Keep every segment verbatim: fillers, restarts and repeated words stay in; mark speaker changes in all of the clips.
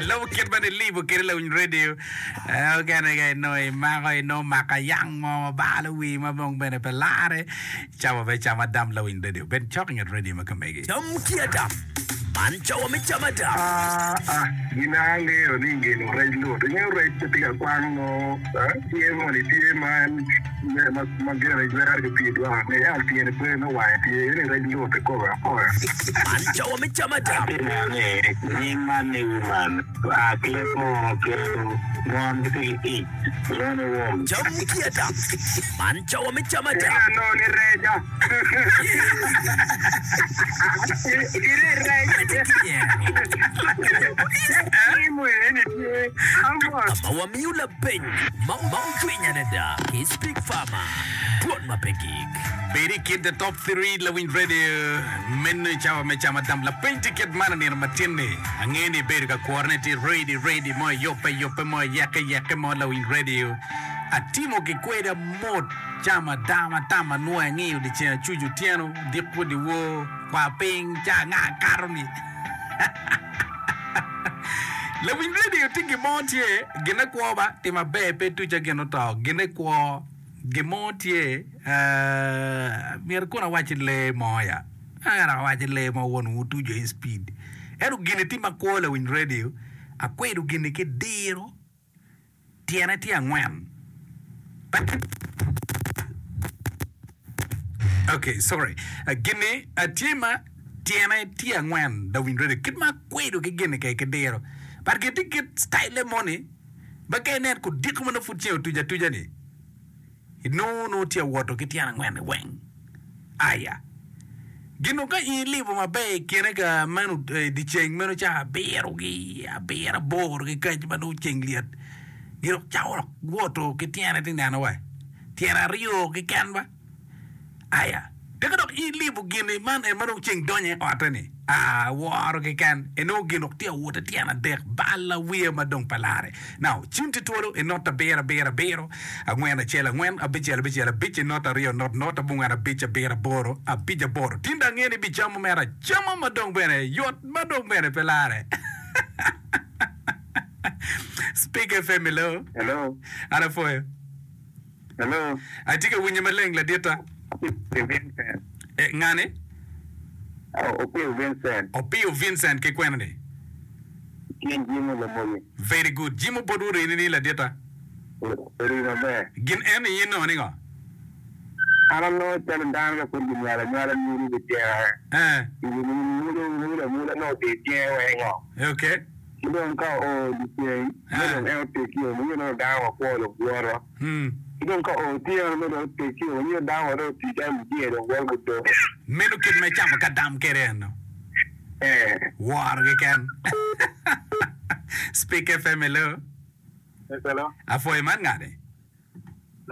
Speaker 1: Lobo kit ma nilibo kede lawiny radio. Eh, okene ka inongo imako inongo maka yang mo mabalo wi ma dong bene pe lare. Cawa me cam adam lawiny radio. Bed cok inget radio ma kamegi.
Speaker 2: Cam ki adam. Man cawa me cam adam.
Speaker 3: Ah, ah, gin angeyo ni gin rec lut. Ingeyo rec pe tye ka kwang no, eh, tye moni tye ma en ma ma gene jwero ki pii dwaka ni ento tyene pe me wange tye eni rec lut ikobe akoya.
Speaker 2: Man cawa me cam adam.
Speaker 4: Atye neno ni nying man ni woman oa ki leb munu kelo mon gitye ki ic lwongo ni wom.
Speaker 2: Cam ki adam. Man cawa me cam adam.
Speaker 3: Eka anongo ni reca. Ire rec.
Speaker 2: Medde ki nyero.
Speaker 3: Timo eni tye amot.
Speaker 2: Ka ma wamiyo lapeny ma ocwiny adada ki Speak Farmer, Dwon ma pe gik.
Speaker 1: Bed i kin the top three lawiny radio meno i cawa me cam adam. Lapeny tye kit man i nino matin-ni. Angeyo ni ibedo ka kworone tye ready ready mo iyubbe yubbe mo iyekke yekke mo lawiny radio. Atimo ki kweda mot cam adam atam anwoyo angiyo dyeceng acuc otyeno odiko dyewor kwar piny ca anga kato ni. Lawiny radio tye gin mo tye gine kwo ba timo aber pe tuca gin oto gine kwo gin mo tye myero kono awac lee mo ya ento awac lee mo won wu tuco i speed ento gini tye makwo lawiny radio akwedo gini ki diro tyene tye angwen ok sorry gini tye ma tyene tye angwen lawiny radio kit ma akwedo ki gini kede ki diro but gin tye kit style moni ma ka inen kudiko ma nongo pud ceng otuc atuca ni inongo nongo tye awoto ki tyene angwen ni weng aya gin dong ka in ilibo maber i kine ka meno i dye ceng meno ca abiro ki abiro aboro ki kac ma nongo ceng lyet gin dok cako dok woto ki tyene ti neno wa tyene aryo keken ba Aya, tika dok in ilibo gin-ni man en ma dong ceng donyo i otte-ni? Aa, woro keken. Inongo gin dok tye awote tyen adek, bal awiya ma dong pe larre. Now, cim tye twolo i not abiro abiro abiro, angwen acel angwen, abicel abicel abic, i not aryo not not, abongwen abic abiro aboro, abic aboro. Tin dong angeyo ni ibicamo mere acama ma dong bene yot ma dong bene pe larre. Speak F M hello.
Speaker 4: Hello.
Speaker 1: An apwoyo.
Speaker 4: Hello.
Speaker 1: Atye ka winyi maleng laditta.
Speaker 4: Opio Vincent.
Speaker 1: Eh, ngani?
Speaker 4: Oh, Opio Vincent.
Speaker 1: Opio Vincent ki kwena ni?
Speaker 4: Tye Jimo Lamoyi.
Speaker 1: Very good. Jimo bot orini ni laditta.
Speaker 4: Ori maber.
Speaker 1: Gin en ni in nongo ni ngo?
Speaker 4: An anongo calo dano ka pud ginywalo anywala mudo ki cenge.
Speaker 1: Eh.
Speaker 4: Mudo mudo amuda nongo otir cenge weng ngo.
Speaker 1: Okay.
Speaker 4: Ki dong ka oo dyeceng, me dong en otegio, ma nyo nongo dano wakwo dong woto. Ki dong ka oo otyeno, me dong otegio, ma nyo dano wa dong otii calo mujee dong woto gudo.
Speaker 1: Meno kit ma icamo ka dam kwede eno.
Speaker 4: Ee.
Speaker 1: Woro keken. Speak F M hello.
Speaker 5: Yes, hello.
Speaker 1: Apwoyo man ngani?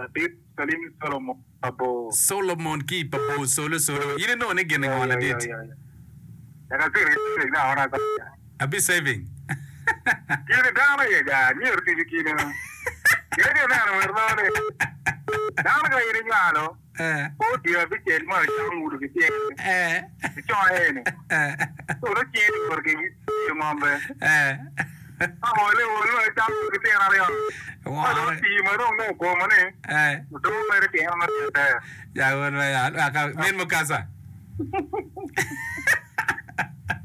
Speaker 5: Latit Salim Solomon Pabor.
Speaker 1: Solomon ki i Pabor solo solo. In inongo ni gin ngo ladit? Abi saving.
Speaker 5: Kine dano aye ga myero tic i kine. Kine ineno wek nongo ni dano ka in inywalo o dye abicel mo icamo ngudo ki tyene icoye ni so nongo cingi owoto ki tiyo ngombe ka ole ol ma icamo ki tyene aryo ka dong otii ma dong nongo okomo ni odong mere tyene ma tye ber.
Speaker 1: Ya won ma ya aka min mukasa.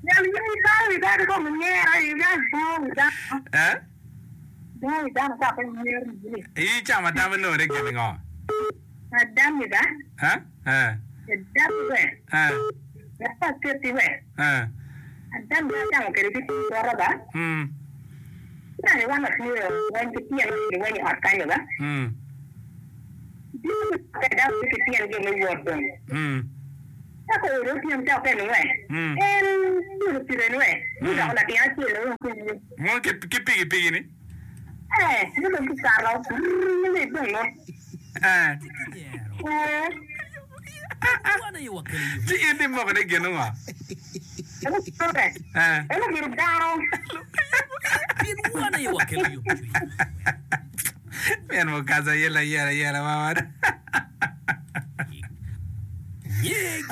Speaker 6: Nyal yin dano wi dano kong inyera i nyal dano wi dano.
Speaker 1: Eh?
Speaker 6: Dano wi dano ka pe inyero ni.
Speaker 1: I camo adam inongo ni gin ngo?
Speaker 6: Adam ba?
Speaker 1: Eh? Eh.
Speaker 6: Adam we.
Speaker 1: Eh.
Speaker 6: Wek aketi we.
Speaker 1: Eh.
Speaker 6: Adam ba acamo kwede ki pii bota ba.
Speaker 1: Mm.
Speaker 6: Nani wan watye weny ki tyen ki weny i ot kanyo ba.
Speaker 1: Mm.
Speaker 6: Bino ki Adam ki tyen jo me wot dong.
Speaker 1: Mm.
Speaker 6: Ka ko ode otyeno ca okene we.
Speaker 1: Mm.
Speaker 6: En piro pire ni we. Gudoko latin acel o ki wiye.
Speaker 1: Mo ki ki pigi pigi ni.
Speaker 6: Eh, gudong ki kato. Brrr, ni dong no.
Speaker 1: Eh.
Speaker 6: Eh.
Speaker 1: Ci in di moko ni gin ngo?
Speaker 6: En otere.
Speaker 1: Eh.
Speaker 6: En obedo dano.
Speaker 2: Pien wan aye wakelo yomcwiny.
Speaker 1: Pien mukaza yela yela yela mama.
Speaker 2: Nye giri.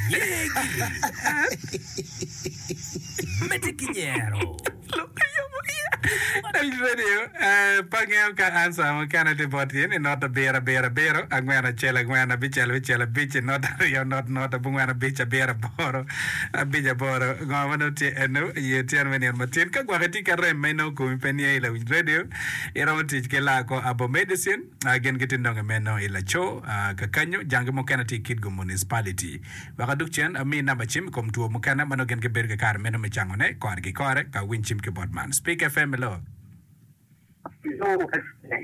Speaker 2: Nye giri. Medde ki nyero.
Speaker 1: Radio, pe angeyo ka answer mukene tye bot in i not abiro abiro abiro angwen acel angwen abicel abicel abic i not aryo not not abongwen abic abiro aboro abic aboro ngo ma nongo tye eno i otyeno me nino matin ka gwok itye ki arem ma inongo komi pe niye i lawiny radio iromo tic ki laa abo medicine gin gitye nonge meno i laco kakanyo jangi mukene tye i Kitgum Municipality wek aduk cen ami namba cim i kom two mukene ma nongo gin gibedo ki kare meno me cangone kore ki kore ka winy cim ki bot man Speak F M hello.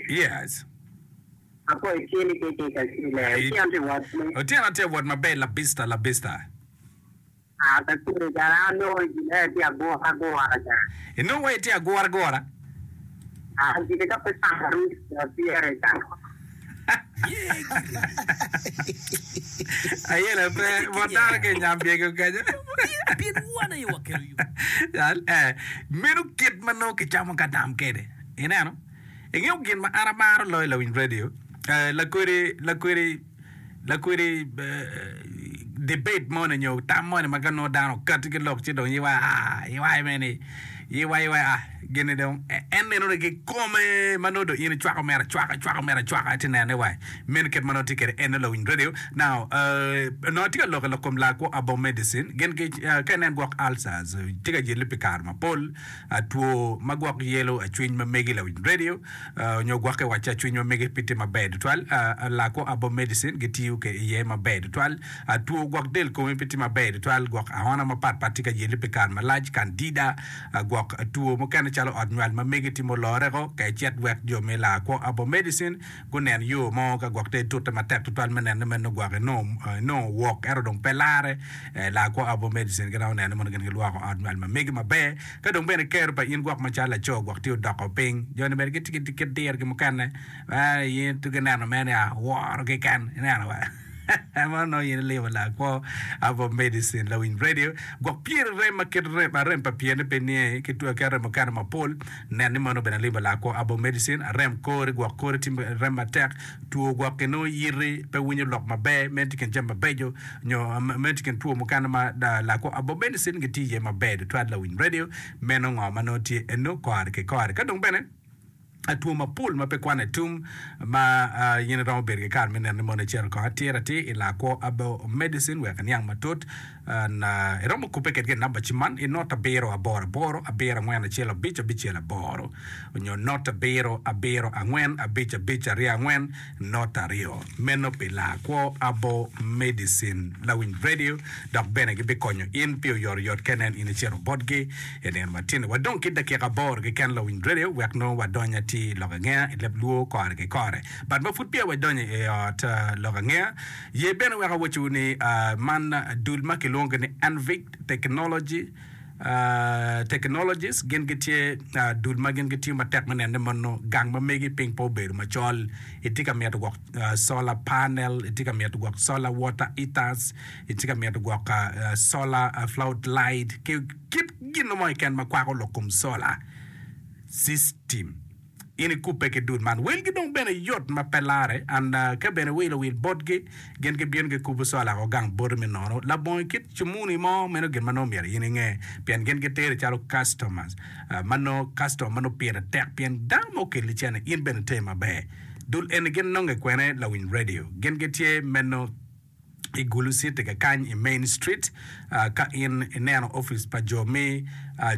Speaker 1: Yes. Otyeno tye wot maber labista labista. Inongo wa itye agura agura. Ayela pe bot dano ki nyambyego kenyo. Meno kit ma nongo kicamo ka dam kede. Ineno? Ingeyo gin ma an amaro loyo lawiny radio. Lakwedi lakwedi lakwedi debate moni nyo tam moni ma ka nongo dano okati ki lok ci dong iwa ah iwa meni iwa iwa ah gini dong en neno ni kikome ma nongo dong in icwako mere acwaka icwako mere acwaka iti nene wa meno kit ma nongo tye kwede en lawiny radio now nongo atye ka lok i lok kom lakwo abo medicine gin ki ka inen gwok ulcers tye ka yeli pi kare mapol two ma gwok yelo acwiny ma megi lawiny radio nyo gwok kiwaco acwiny ma megi pe tye maber tutwal lakwo abo medicine gitiyo iye maber tutwal two gwok del komi pe tye maber tutwal gwok aona mapatpat tye ka yeli pi kare malac candida gwok two mukene calo ot nywal ma megi timo loreko ka icit wek jo me lakwo abo medicine gunen yo mo ka gwok te tute matek tutwal me neno meno gwok inongo wok ento dong pe lare lakwo abo medicine giromo neno mondo gin gilwoko ot nywal ma megi maber ka dong bene kero pa in gwok macalo laco gwok tye odoko piny joni bene gitye ki dirgi mukene in tye gineno mene woro keken ineno wa mano in ilimo lakwo abo medicine lawiny radio gwok pyeri rem ma kit rem arem pa pyeni pe niye ki two ki arem mukene mapol nen ni mano bene limo lakwo abo medicine arem kori gwok kori tye rem matek two gwok inongo yiti pe winyo lok maber meno tye kin jami mabeco nyo meno tye kin two mukene ma lakwo abo medicine gitye iye maber tutwal lawiny radio meno ngo ma nongo tye eno kore ki kore ka dong bene two mapol ma pe kwane tum ma in iromo bedo ki kare me neno ni mono icito kong atir atir i lakwo abo medicine wek iniang matut iromo kubbe kedgi i namba cim man i not abiro aboro aboro abiro angwen acel abic abicel aboro nyo not abiro abiro angwen abic abic aryo angwen not aryo meno pi lakwo abo medicine lawiny radio dok bene gibikonyo in pi oyotoyot ka inen in icito botgi i nino matini wadong ki dakika aboro keken lawiny radio wek nongo wadony atir lok angeya i leb luo kore ki kore but ma pud peya wadonyo i ot lok angeya ye bene wek awacowu ni man dul ma kilwongo ni Envic Technology Technologies gin gitye dul ma gin gitiyo matek me neno ni mono gang ma megi piny pe obedo macol itye ka mito gwok solar panel itye ka mito gwok solar water heaters itye ka mito gwok solar flood light ki kit gin mo keken ma kwako lok kom solar system in ikubbe ki dul man welgi dong bene yot ma pe lare and ka bene wilo wil botgi gin gibino gikubo solar ko gang boti me nono labongo kit cumuni mo meno gin ma nongo myero in inge pien gin giteri calo customers ma nongo customer ma nongo pire tek pien dano ma okelli cene in bene iter maber dul eni gin nonge kwene lawiny radio gin gitye meno i Gulu City kakany i Main Street ka in ineno office pa jo me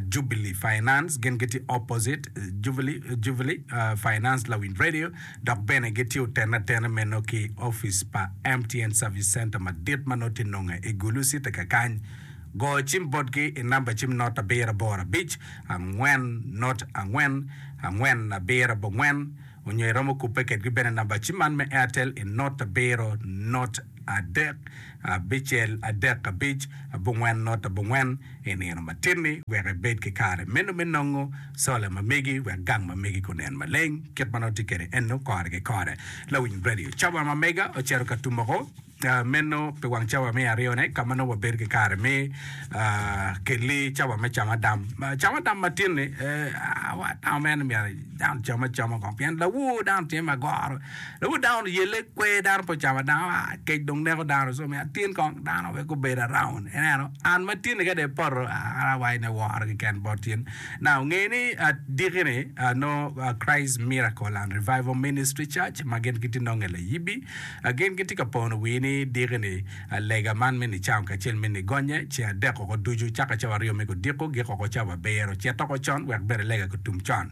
Speaker 1: Jubilee Finance gin gitye opposite Jubilee, Jubilee Finance lawiny radio dok bene gitye otene atena meno ki office pa M T N Service Center madit ma nongo tye nonge i Gulu City kakany go cim botgi i namba cim not abiro aboro abic angwen not angwen angwen abiro abongwen onyo iromo kubbe kedgi bene namba cim man me Airtel i not abiro not adek abicel adek abic abongwen not abongwen i nino matinni wek ibed ki kare meno me nongo sola ma megi wek gang ma megi kunen maleng kit ma nongo tye kwede eno kore ki kore lawiny radio cawa ma mega ocito ka tumoko meno pi wang cawa me aryone ka ma nongo wabedo ki kare me kelli cawa me camo adam camo adam matinni dano meno myero dano cam acama kong pien lawor dano tye magoro lawor dano yelle kwer dano pe ocamo adam kec dong kong neko dano so omiyo atin kong dano wek gubed around ineno an ma tin-ni ka dong ipoto an awaco ni aworo keken bot in now nge ni diki-ni nongo Christ Miracle and Revival Ministry Church ma gin gitye nonge layibi gin gitye ka pono wii ni diki-ni lega man me nicango kacel me nigonye ceng adek oko ducu caka cawa aryo me kudiko gik oko cawa abiro cit oko con wek bene lega kutum con.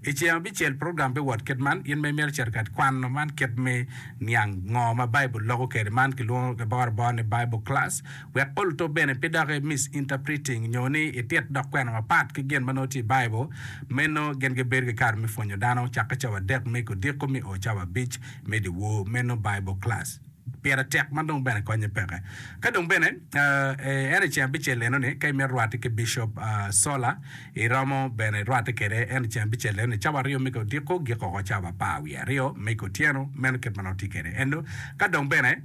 Speaker 1: I ceng abicel, program biwot kit man, In ma imito cito ka kwano man kit me niang ngo ma Baibul loko kwede, man kilwongo ki boro boro ni Bible class, wek oluto bene pe dok i misinterpreting nyo ni itit dok kwena mapat ki gin ma nongo tye i Baibul. Meno gin gibedo ki kare me pwonyo dano cakke cawa adek me kodiko me o cawa abic me dyewor. Meno Bible class. Pire tek ma dong bene konye peke. Ka dong bene en i ceng abicel eno-ni, ka imito rwatte ki Bishop Sola, iromo bene rwatte kwede en i ceng abicel eno-ni cawa aryo me odiko gik oko cawa apar wiye aryo me otyeno. Meno kit ma nongo tye kwede eno. Ka dong bene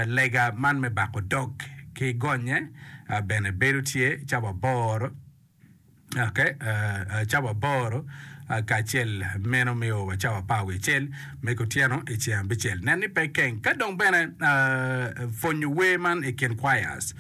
Speaker 1: lega man me bako dog ki gonye bene bedo tye cawa aboro. Okay, cawa aboro kacel meno miyo wa cawa apar wiye acel me kutyeno i ceng abicel. Nen ni pe ikeng. Ka dong bene pwonyo wer man i kin choirs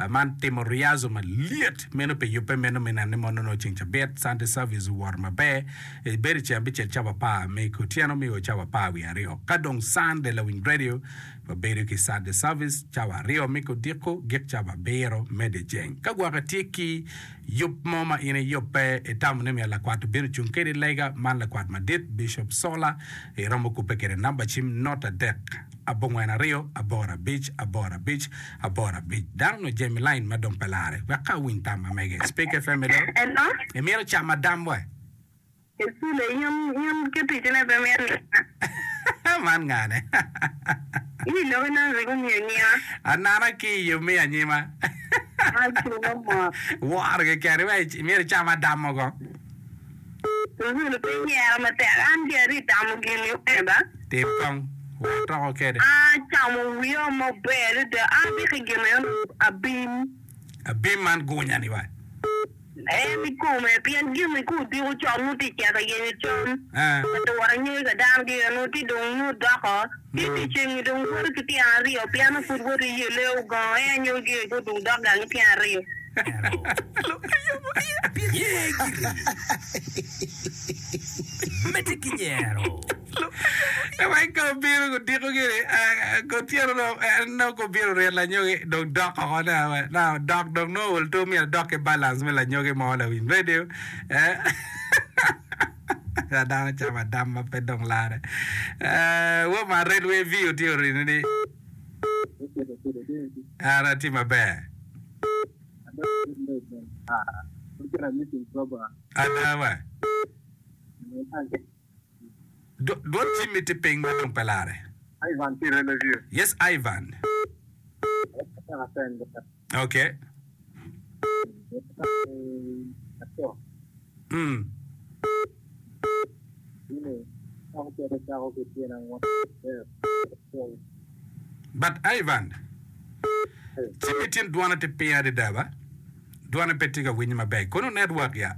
Speaker 1: man timo rehearsal malyet meno pi yubbe meno me neno ni mono nongo ceng cabit Sunday service owoto maber. Bedo i ceng abicel cawa apar me kutyeno miyo wa cawa apar wiye aryo. Ka dong Sunday lawiny radio wabedo ki Sunday service cawa aryo me kudiko gik cawa abiro me dyeceng. Ka gwok itye ki Yub mo ma in iyubbe itamo ni myero lakwat obin ocung kedi i lega man lakwat madit Bishop Sola iromo kubbe kede namba cim not adek abongwen aryo aboro abic aboro abic aboro abic dano onongo jami line ma dong pe lare wek ka awiny tam ma mege Speak F M hello
Speaker 6: Hello.
Speaker 1: Imito camo adam we?
Speaker 6: Esule in in ki ticine pe mito niang.
Speaker 1: Man ngane?
Speaker 6: In iloki nongo rik omiyo nyinga.
Speaker 1: Anana ki i yo me anyima.
Speaker 6: Aculo mot.
Speaker 1: Woro keken iweko imito icam adam mogo.
Speaker 6: Esule pe inyera matek an ki ari tamo gin ni wene ba.
Speaker 1: Tim kong wek atoko kede.
Speaker 6: Acamo wiya maber adada abiki gin eno abim.
Speaker 1: Abim man gunya ni wa.
Speaker 6: En i kome, pien gin ka odiko con nongo tye cito yenyo cam, ka wot anyogi ka dano gire nongo tye dong nongo doko, ci dyeceng-ngi dong woto ki tyen aryo, pien nongo pud woto iyelle ogongo en anyogi gire ka dong dok gang ki tyen aryo.
Speaker 2: Ye giri. Medde ki nyero.
Speaker 1: Wek ka obino odiko gini, otyeno dong en nongo ka obino oryet lanyogi dong dok oko now dok dong nongo ol two myero adok ki balance me lanyogi mo lawiny radio eh dano camo adam ma pe dong lare eh woo ma Railway View tye orini ni an atye maber ada wa. Dwol cimmi tye piny ma dong pe lare.
Speaker 4: Ivan tye i Review.
Speaker 1: Yes Ivan. Okay. Mm. But Ivan, cimmi tin dwone tye piny adada ba? Dwone pe tye ka winye maber. Kono network ya.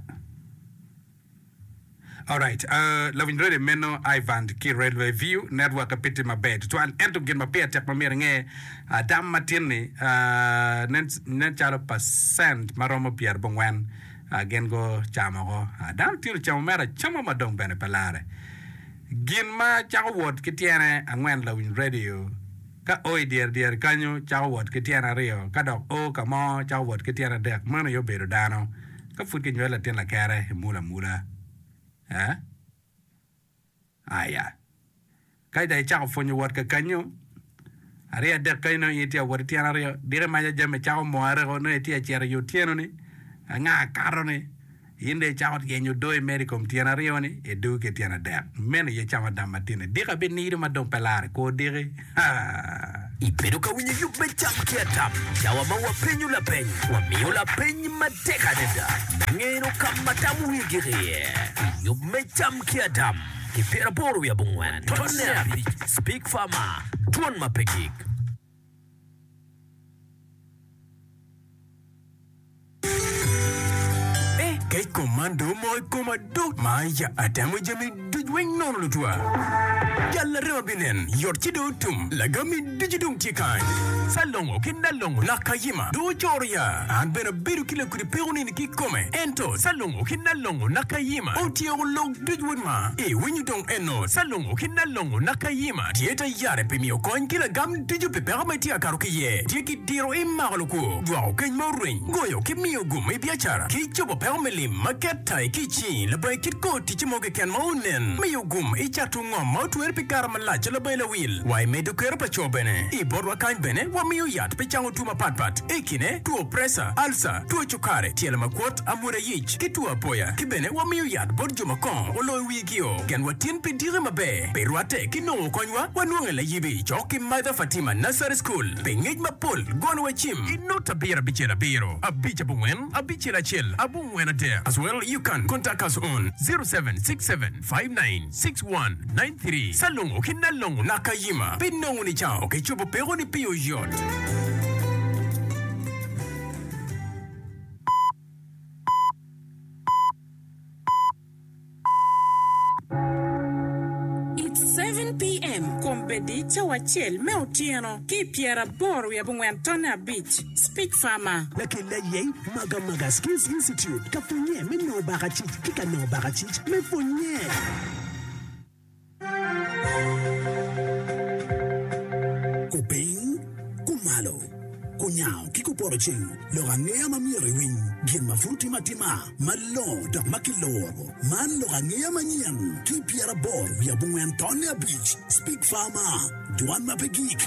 Speaker 1: Alright, uh, lawiny radio meno Ivan ki Railway View network pe tye maber tutwal. Ento gin ma pire tek ma myero inge, uh, dam matin-ni uh, nen, nen calo percent ma romo pyerabongwen uh, gin gucamo oko. Uh, dano tye ocamo mere acama ma dong bene pe lare. Gin ma cako wot ki tyene angwen lawiny radio ka o i dyere dyere kanyo cako wot ki tyene aryo ka dok o ka mo cako wot ki tyene adek meno aye obedo dano. Ka pud kinywalo latin lakere, imulo amula. Eh? Aya. Ka dong icako pwonyo wot ka kanyo, aryo adek kanyo nongo in itye ka wot ki tyen aryo, diki maca jami cako more ko, nongo itye ka cito i otyeno-ni, anga kato-ni, in dong icako yenyo odoo imedo i kom tyen aryo-ni, idwogo ki tyen adek. Meno aye camo adam matin-ni. Diki abinido ma dong pe lare kor diki. Haa!
Speaker 2: Ibedo ka winyo yub me Cam ki Adam, cawa ma wapenyo lapeny, wamiyo lapeny matek adada me ngeno ka ma tam wiye gik iye. I yub me Cam ki Adam, ki pyeraboro wiye abongwen, tonne abic, Speak Farmer, Dwon ma pe gik.
Speaker 7: Kom man dong omoko i koma do ma ya atemo jami duc weng nono lutwa. Jal larema binen yot ci dong otum lagami ducu dong tye kany. Salongo ki nalongo nakayima dong ocoro ya. An bene abedo ki lakudi peko nini ki kome. Ento salongo ki nalongo nakayima otyeko lok duc wod ma. Iwinyo dong eno salongo ki nalongo nakayima tye ta yare pi miyo kony ki lagam ducu pi peko ma itye ka kato ki iye. Tye ki diro imako lukwo, dwoko keny ma orweny, goyo ki miyo gum i biacara, ki cobo peko me lim ma ket tai ki i cingi labongo kit kor ticce mo keken ma onen, miyo gum i cato ngom ma otwere pi kare malac labongo lawil, wa i medo kero pa co bene. I botwa kany bene wamiyo yat pi cango two mapatpat, i kine two presa, alca, two cukari, tyelo makwot, amwoda yic, ki two apoya. Ki bene wamiyo yat bot jo ma kongo oloyo wigio. Genwa tin pi diki maber, pi rwatte ki nongo konywa, wanwonge layibi cok ki Mother Fatima Nursery School. Pi ngec mapol, gonwa cim i not abiro abicel abiro abic abongwen abicel acel abongwen adek. As well, you can contact us on zero seven six seven five nine six one nine three. Salongo ki Nalongo Nakayima pi nongo nicango ki cobo pekoni pi oyot.
Speaker 8: It's seven PM, Kombeddi cawa acel me otyeno ki i pyeraboro wiye abongwen tonne abic, Speech Farmer.
Speaker 9: Lakel aye Magamaga Skills Institute ka pwonye me nongo bakacic ki ka nongo bakacic me pwonye. Kupiny, kumalo, kunyango ki kupoto ceng, lok angeya ma myero iwiny, gin ma pud timo atima, malongo dok ma kiluro. Man lok angeya manyen ki pyeraboro wiye abongwen tonne abic, Speak Farmer, dwan ma pe gik.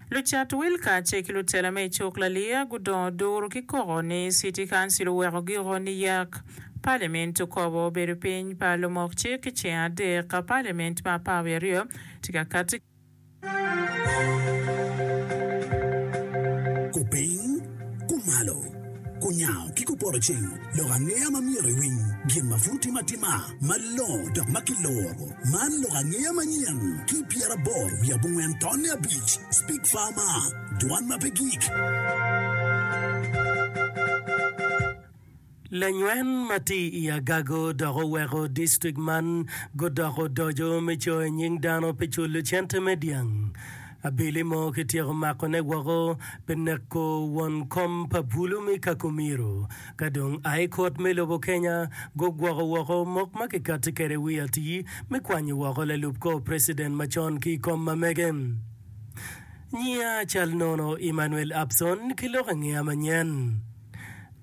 Speaker 8: Lucat wil kacel ki lutela me i cuk laliya gudongo duru ki koko ni City Council oweko giko niyak. Parliament okobo obedo piny pa lumok cik i ceng adek ka Parliament ma apar wiye aryo tye ka kati.
Speaker 9: Kupiny, kumalo, kunyango ki kupoto ceng, lok angeya ma myero iwiny, gin ma pud timo atima, malongo dok ma kiluro. Man lok angeya manyen ki pyeraboro wiye abongwen tonne abic, Speak Farmer, dwan ma pe gik.
Speaker 10: Lanywen ma tye i Agago dok oweko distrik man gudoko odoco me coyo nying dano pi culo cente me dyang. Abili mo kityeko makone woko pi neko won kom pa bulu me Kakumiro. Ka dong High Court me lobo Kenya gugwoko woko mok ma kikati kwede wi atir me kwanyo woko lalub kor preciden macon ki i kom ma mege. Nyiya cal nono Emmanuel Abson ki lok angeya manyen.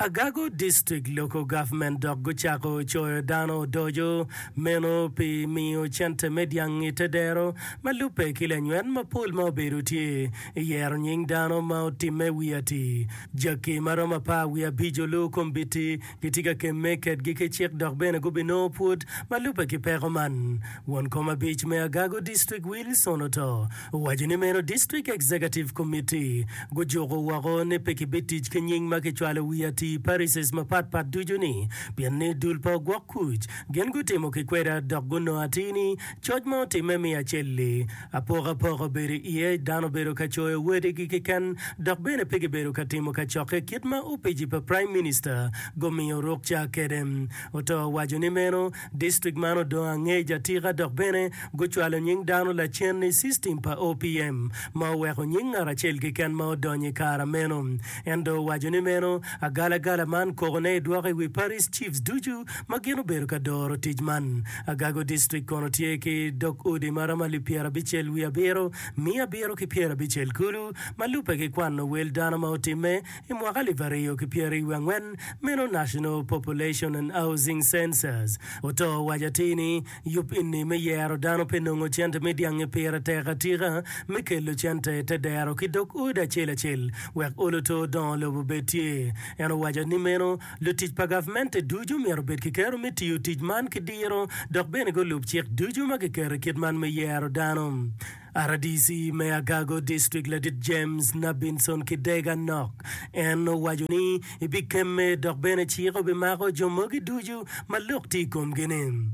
Speaker 10: Agago District Local Government dok gucako coyo dano odoco meno pi miyo cente me dyang i te dero ma lubbe ki lanywen mapol ma obedo tye i yero nying dano ma otimme wi ati. Jaki ma romo apar wiye abic olu kombiti gitye ka kemme kedgi ki cik dok bene gubinongo pwod ma lubbe ki peko man. Won kom abic me Agago District Wilson Oto owaco ni meno District Executive Committee gujuko woko ni pe kibitic ki nying ma kicwalo wi ati i parishes mapat pat ducu ni pien ni dul pa ogwok kuc gin gutimo ki kweda dok gunongo atir ni coc ma otimme miya acel-li apokapoka obedo iye dano obedo ka coyo wadigi keken dok bene pe gibedo ka timo kacokke kit ma opici pa Prime Minister gumiyo rukca kede. Oto owaco ni meno Distrik man odong angec atika dok bene gucwalo nying dano lacen i system pa O P M ma oweko nying ngat acel keken ma odonyo i kara meno. En dong owaco ni meno agalagala man kokone idwoko i wi Parish Chiefs ducu ma gin obedo ka doro tic man. Agago District kono tye ki dog odi ma romo alip pyerabicel wiye abiro, miya abiro ki pyerabicel kulu ma lubbe ki kwano wel dano ma otimme I mwaka alip aryo ki pyeraryo angwen, meno National Population and Housing Census oto owaco atir ni yub eni me yero dano pe nongo cente me dyangi pire tek atika me kelo cente i te dero ki dog odi acel acel wek olo to dongo lobo bed tye. En owaco ni meno lutic pa gavmente ducu myero obed ki kero me tiyo tic man ki diro dok bene gulub cik ducu ma kiketo i kit man me yero dano. R D C me Agago District Ladit James Nabinson Kidega Nok en owaco ni ibikemme dok bene cik obimako jo mogi ducu ma lok tye i komgi ni.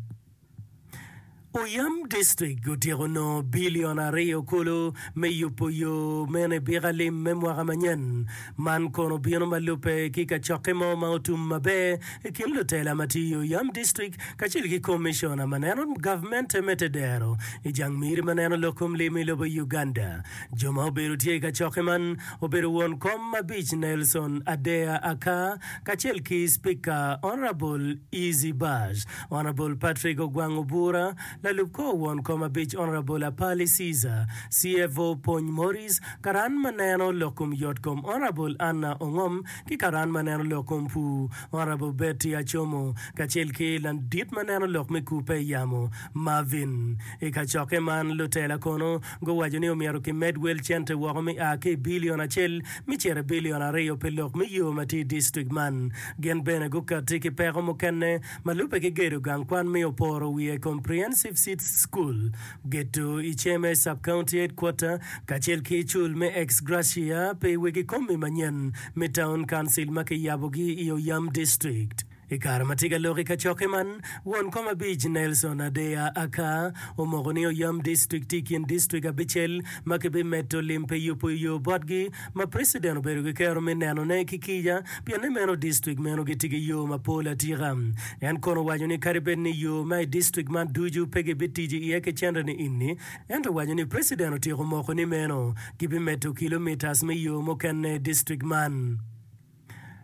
Speaker 10: Oyam District otyeko nongo bilion aryo kulu me yubo yo meno i byeka lim me mwaka manyen. Man kono obino ma lubbe ki kacokke mo ma otum maber i kin lutela ma tye i Oyam District kacel ki komiciona ma neno gavmente me tedero i jang miri ma neno lok kom lim i lobo Uganda. Jo ma obedo tye i kacokke man obedo won kom abic Nelson Adea Akar kacel ki Spika Honourable Easy Bash, Honourable Patrick Ogwang Obura, lalub kor won kom abic Honourable Apali Caesar, C F O Pony Maurice, karan ma neno lok kom yot kom Honourable Anna Ongom ki karan ma neno lok kom pur Honourable Betty Achomo kacel ki ladit ma neno lok me kupe i yamo Marvin. I kacokke man lutela kono guwaco ni omyero kimed wel cente woko me a ki i bilion acel me cito i bilion aryo pi lok me yo ma tye i distrik man. Gin bene gukatti ki peko mukene ma lubbe ki gedo gang kwan me oporo wiye Comprehensive Seeds School, gedo i Ceme Sub-County Headquarter kacel ki cul me ex gratia pi wegi komi manyen me Town Council ma kiyabogi i Oyam District. I kare ma tye ka lok i kacokke man, won kom abic Nelson Adeya Akar omoko ni Oyam District tye i kin distrik abicel ma kibimedo lim pi yubo yo botgi ma preciden obedo ki kero me nenone ki kica pien ni meno distrik meno gitye ki yo mapol atika. En kono owaco ni kadi bed ni yo ma i distrik man ducu pe gibitic iye ki cente ni ini, ento owaco ni preciden otyeko moko ni meno gibimedo kilomitas me yo mukene i distrik man.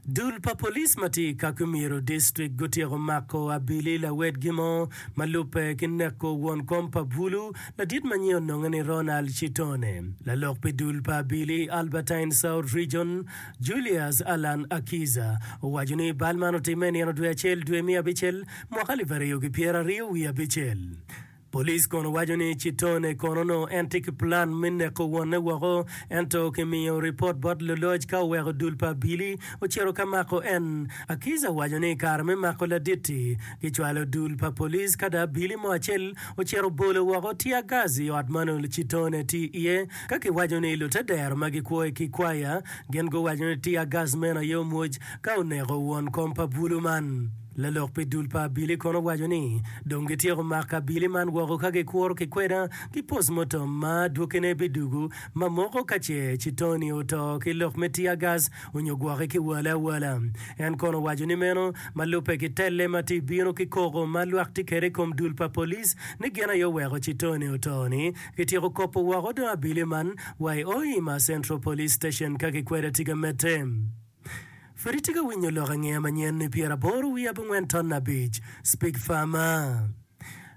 Speaker 10: Dul pa police ma tye i Kakumiro District gutyeko mako abili lawedgi mo ma lubbe ki neko won kom pa bulu ladit ma nyinge ononge ni Ronald Chitone. Lalok pi dul pa abili i Albertine South Region, Julius Allan Akiza owaco ni bal man otimme i nino dwe acel dwe me abicel mwaka alip aryo ki pyeraryo wiye abicel. Police kono waco ni Chitone kono onongo en tye ki plan me neko wonne woko ento kimiyo ripot bot luloc ka oweko dul pa abili ocito ka mako en. Akiza owaco ni i kare me mako ladit-ti, kicwalo dul pa police ka dong abili mo acel ocito obolo woko tear gas i ot ma onongo Chitone tye iye. Ka kiwaco ni lutedero ma gikwo i Kikwaya gin guwaco ni tear gas meno aye omwoc ka oneko won kom pa bulu man. Lalok pi dul pa abili kono owaco ni dong gityeko mako abili man woko ka gikuro ki kweda ki postmortem ma adwokine bidugu ma moko ka ce Chitoni oto ki lok me tear gas onyo gwoke ki wale awala. En kono owaco ni meno ma lubbe ki telle ma tye bino ki koko ma lwak tye kwede i kom dul pa police ni gin aye oweko Chitoni oto ni gityeko kopo woko dong abili man wa i Hoima Central Police Station ka kikweda tye ka medde. Pud itye ka winyo lok angeya manyen ni pyeraboro wiye abongwen ton abic, Speak Farmer.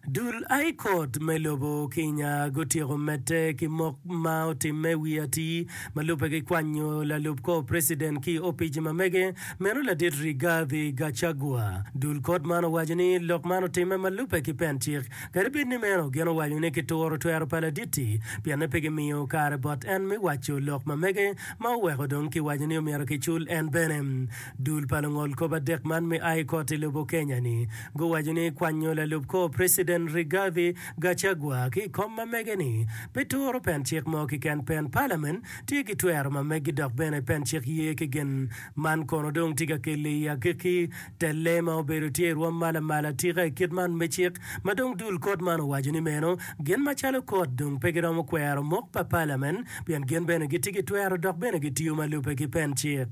Speaker 10: Dul High Court me lobo Kenya gutyeko medde ki mok ma otimme wi atir ma lubbe ki kwanyo lalub kor president ki i opic ma mege meno ladit Rigathi Gachagua. Dul kot man owaco ni lok man otimme ma lubbe ki pen cik kadi bed ni meno gin owaco ni kituro twero pa ladit-ti pienne pe gimiyo kare bot en me waco lok ma mege ma oweko dong kiwaco ni omyero kicul en bene. Dul pa lungol kop adek man me High Court i lobo Kenya-ni guwaco ni kwanyo lalub kor President Rigathi Gachagua ki i kom ma mege-ni pe turo pen cik mo keken pen Parliament tye ki twero ma megi dok bene pen cik ye ki gin man kono dong tye ka kelo i agikki telle ma obedo tye i rwom ma lamal atika i kit man me cik ma dong dul kot man owaco ni meno gin macalo kot dong pe giromo kwero mok pa Parliament pien gin bene gitye ki twero dok bene gitiyo ma lubbe ki pen cik.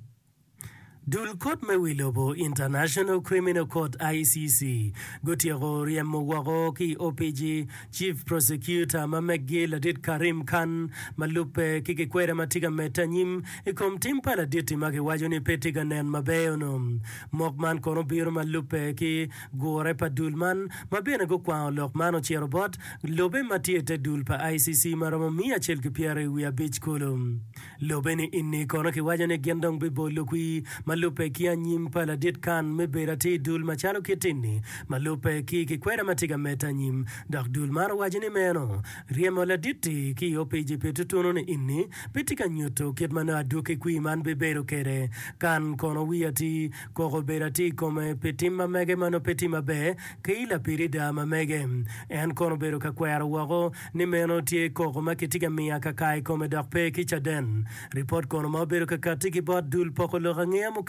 Speaker 10: Dul kot me wi lobo, International Criminal Court, I C C, gutyeko ryemo woko ki i opici Chief Prosecutor ma meggi ladit Karim Khan ma lubbe ki kikweda ma tye ka medde anyim i kom tim pa ladit-ti ma kiwaco ni pe tye ka nen maber ono. Mok man kono obino ma lubbe ki gure pa dul man ma bene gukwango lok man ocito bot lobe ma tye i te dul pa I C C ma romo miya acel ki pyeraryo wiye abic kulu. Lobe ni ini kono kiwaco ni gin dong bibolo kwir ma lubbe ki anyim pa ladit Khan me bedo atir i dul macalo kit-ti-ni ma lubbe ki kikweda ma tye ka medde anyim. Dok dul man owaco ni meno ryemo ladit-ti ki i opici pi tutunu ni ini pe tye ka nyuto kit ma nongo adwogi kwir man bibedo kwede. Khan kono wiye atir koko obedo atir i kome pi tim ma mege ma nongo pe tye maber ki lapirida ma mege. En kono obedo ka kwero woko ni meno tye koko ma kitye ka miyo akaka i kome dok pe ki caden. Ripot kono ma obedo ka katti ki bot dul poko lok angeya mukene.